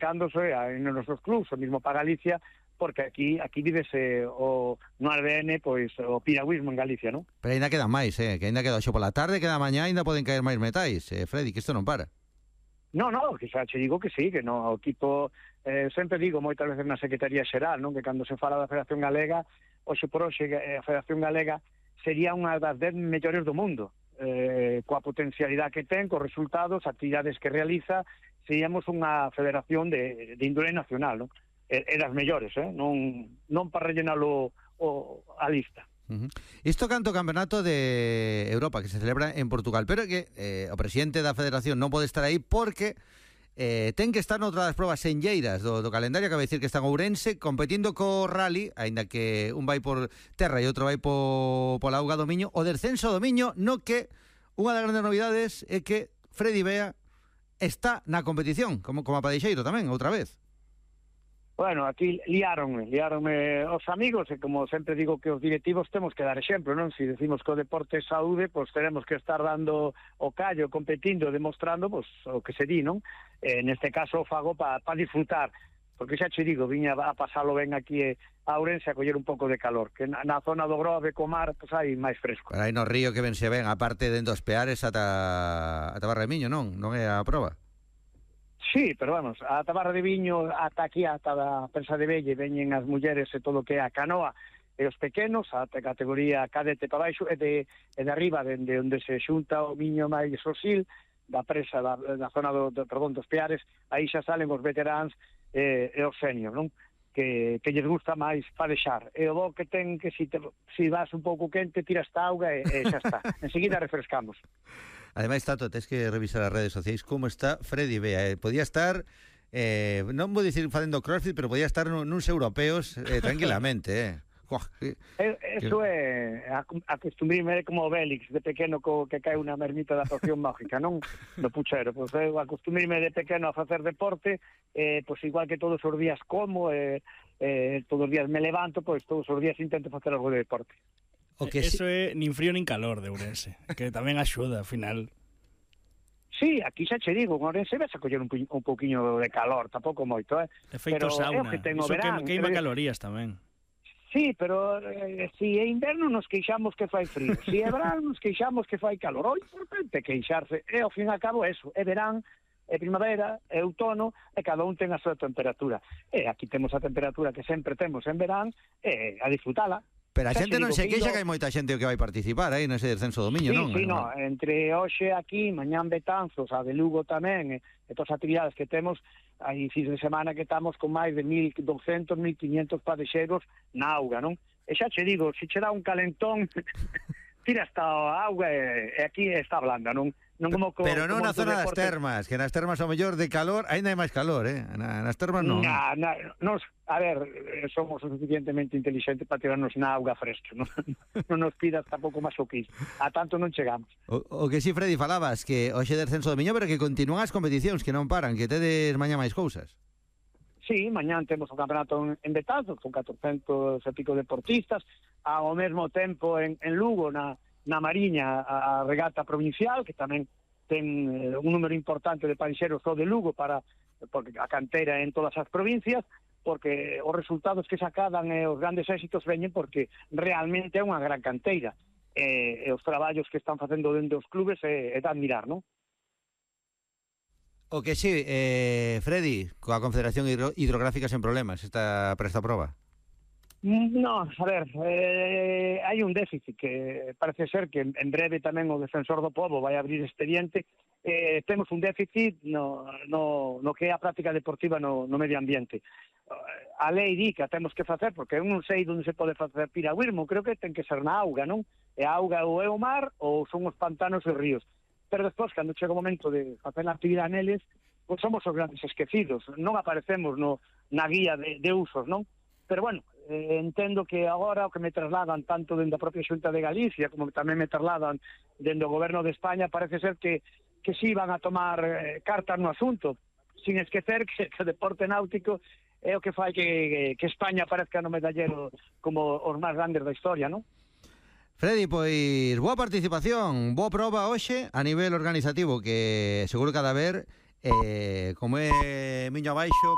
cándose nos nosos clubs, o mismo para Galicia, porque aquí vívese no ADN, pois, o piragüismo en Galicia, non? Pero ainda quedan máis, que ainda queda xo pola tarde, queda mañá, ainda poden caer máis metais, Freddy, que isto non para. No, que xa che digo que sí, que no, o equipo, sempre digo moitas veces na Secretaría Xeral, non, que cando se fala da Federación Galega, hoxe por hoxe a Federación Galega sería unha das 10 mellores do mundo, coa potencialidade que ten, cos resultados, actividades que realiza, seríamos unha federación de índole nacional, non? E das mellores, non para rellenalo a lista. Isto canto campeonato de Europa que se celebra en Portugal, pero que o presidente da federación non pode estar aí porque ten que estar noutra das probas senlleiras do calendario, que vai dicir que está en Ourense competindo co rally, aínda que un vai por terra e outro vai pola auga do Miño, o descenso do Miño, no que unha das grandes novidades é que Freddy Bea está na competición, como a Padeixeiro tamén, outra vez. Bueno, aquí liáronme os amigos, e como sempre digo que os directivos temos que dar exemplo, non? Se decimos que o deporte é saúde, pois tenemos que estar dando o callo, competindo, demostrando pois, o que se di, non? Neste caso o fago para disfrutar, porque xa che digo, viña a pasalo ben aquí a Ourense a coller un pouco de calor, que na zona do Grove, co mar, pois hai máis fresco. Pero aí no río que ben se ven, aparte dentro dos Peares ata Barra de Miño, non é a proba? Sí, pero vamos, a Barra de Viño, ata aquí, ata a Pensa de Velle, veñen as mulleres e todo o que é a canoa, e os pequenos, a categoría cadete para baixo, e de arriba, dende onde se xunta o Miño máis o Sil, da presa da zona dos Peares, aí xa salen os veteráns e os senior, non? Que lles gusta máis padexar. E o bo que ten que si vas un pouco quente, tiras esta auga e xa está. Enseguida refrescamos. Ademais, Tato, tens que revisar as redes sociais como está Freddy Bea. Podía estar, non vou dicir facendo crossfit, pero podía estar nuns europeos tranquilamente, Eso é acostumbrime como o Bélix de pequeno que cae unha mermita da poción mágica, non? Do puchero, pois eu acostumbrime de pequeno a facer deporte, pois igual que todos os días como, todos os días me levanto, pois todos os días intento facer algo de deporte. Eso é nin frío nin calor de Ourense, que tamén axuda, ao final. Sí, aquí xa che digo, en Ourense vas a coller un pouquiño de calor, tampouco moito, Efeito sauna, iso queima calorías tamén. Sí, pero si é inverno nos queixamos que fai frío, si é verán nos queixamos que fai calor. O importante é queixarse, e ao fin e ao cabo eso, é verán, é primavera, é outono, e cada un ten a súa temperatura. E aquí temos a temperatura que sempre temos en verán, e a disfrutala. Pero a xente non se queixa que hai moita xente que vai participar aí nese descenso do Miño, non? Sí, non, entre hoxe aquí, mañán Betanzos, a de Lugo tamén, e todas as actividades que temos, hai fins de semana que estamos con máis de 1.200, 1.500 padexeros na auga, non? E xa che digo, se che dá un calentón, tira esta auga e aquí está blanda, non? Pero non na zona das termas, que nas termas ao mellor de calor, ainda hai máis calor, nas termas non. A ver, somos suficientemente inteligentes para tirarnos na auga fresca, non nos pidas tampouco máis o que iso, a tanto non chegamos. O que si, Freddy, falabas, que hoxe descenso do Miño, pero que continúan as competicións, que non paran, que tedes mañá máis cousas. Sí, mañán temos o campeonato en Betanzos, con 400 e pico deportistas, ao mesmo tempo en Lugo, na Mariña, a regata provincial, que tamén ten un número importante de padexeros só de Lugo, porque a cantera en todas as provincias, porque os resultados que sacadan e os grandes éxitos veñen porque realmente é unha gran canteira, e os traballos que están facendo dentro dos clubes é de admirar, non? O que sí, Freddy, coa Confederación Hidrográfica sen problemas para esta proba. No, a ver, hai un déficit que parece ser que en breve tamén o Defensor do Pobo vai abrir expediente. Temos un déficit no que é a práctica deportiva no medio ambiente. A lei di que a temos que facer, porque eu non sei onde se pode facer piragüismo, creo que ten que ser na auga, non? E a auga ou é o mar ou son os pantanos e ríos. Pero despois, cando chega o momento de facer a actividade neles, pois somos os grandes esquecidos, non aparecemos na guía de usos, non? Pero bueno, entendo que agora o que me trasladan tanto dentro da propia Xunta de Galicia como tamén me trasladan dentro do Goberno de España, parece ser que sí van a tomar cartas no asunto, sin esquecer que o deporte náutico é o que fai que España aparezca no medallero como os máis grandes da historia, non? Freddy, pois boa participación, boa proba hoxe a nivel organizativo, que seguro que ha de haber, como é Miño abaixo,